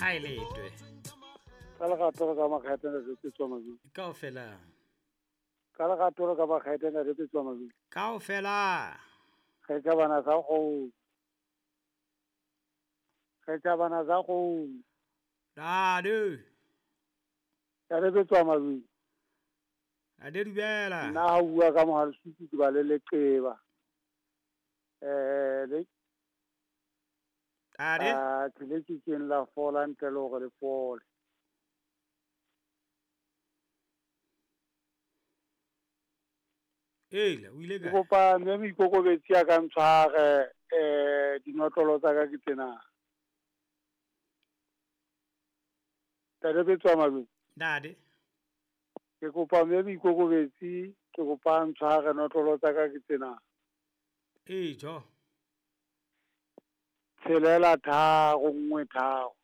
A e letwe. Ka lerato re ka makgethe ntate Petswa Mabidi. Kaofela. Ka lerato re ka makgethe ntate Petswa Mabidi. Kaofela. Kgetha bana sa kgomo. Kgetha bana sa kgomo. Ntate. Ntate Petswa Mabidi. Ntate dumela. Nna ha o bua ka Mohalesutu ke ba le leqeba. Le Ntate. Athe le kekeng la fola ntle le hore le fole. Eila, o ile Ke kae? kopa mme moikokobetsi a ka ntshware dinotlolo tsa ka ke tsena. Ntate Petswa Mabedi. Ntate. Ke kopa mme moikokobetsi, ke kopa a ntshware notlolo tsa ka ke tsena. Ee, jo. 6 3 1 3.